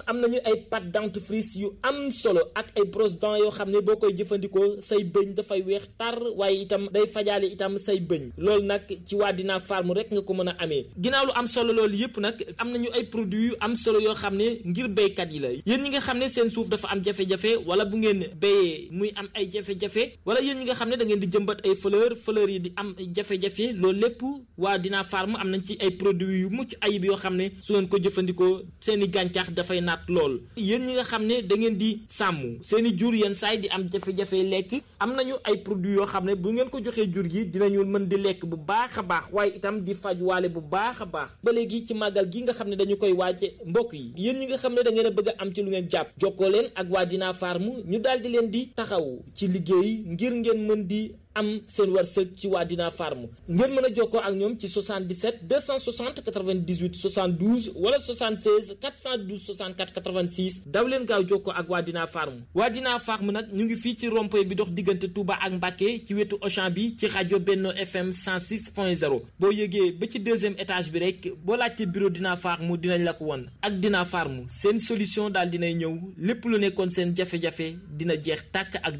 am nañu ay pâte dentifrice yu am solo ak ay brosse dents yoo xam ne boo koy jëfandikoo say bëñ dafay weex tar waaye itam day fajaale itam say bëñ loolu nag ci waa Dina Farm rek nga ko mën a amee. ginnaaw lu am solo loolu yëpp nag am nañu ay produits yu am solo yoo xam ne ngir béykat yi la yéen ñi nga xam ne seen suuf dafa am jafe-jafe wala bu ngeen béyee muy am ay jafe-jafe wala yéen ñi nga xam ne da ngeen di jëmbat ay fleur yi di am jafe-jafe loolu lépp waa Dina Farm am nañ ci ay produits yu mucc ayib yoo xam ne su ngeen ko jëfandikoo seen i gàncax dafay naat lool. yéen ñi nga xam ne da ngeen di sàmm seen i jur yenn saay di am jafe-jafe lekk am nañu ay produits yoo xam ne bu ngeen ko joxee jur gi dinañu mën di lekk bu baax a baax waaye itam di faj waale bu baax a baax. ba léegi ci màggal gi nga xam ne dañu koy waaje mbokk yi yéen ñi nga xam ne da ngeen a bëgg a am ci lu ngeen jàpp jokkoo leen ak waa Dina Farm ñu daal di leen di taxaw ci liggéey ngir ngeen mën di am seen wërsëg ci waa Dina Farm ngeen mën a jokkoo ak ñoom ci 77 260 98 72 wala 76 412 64 86 daw leen gaaw jokkoo ak waa Dina Farm. waa Dina Farm nag ñu ngi fii ci rond-point bi dox diggante Touba ak Mbacké ci wetu Auchan bi ci rajo Benno FM 106.0 boo yëgee ba ci deuxième étage bi rek boo laajte bureau Dina Farm dinañ la ko won ak Dina Farm seen solution daal dinay ñëw lépp lu nekkoon seen jafe-jafe dina jeex tàkk ak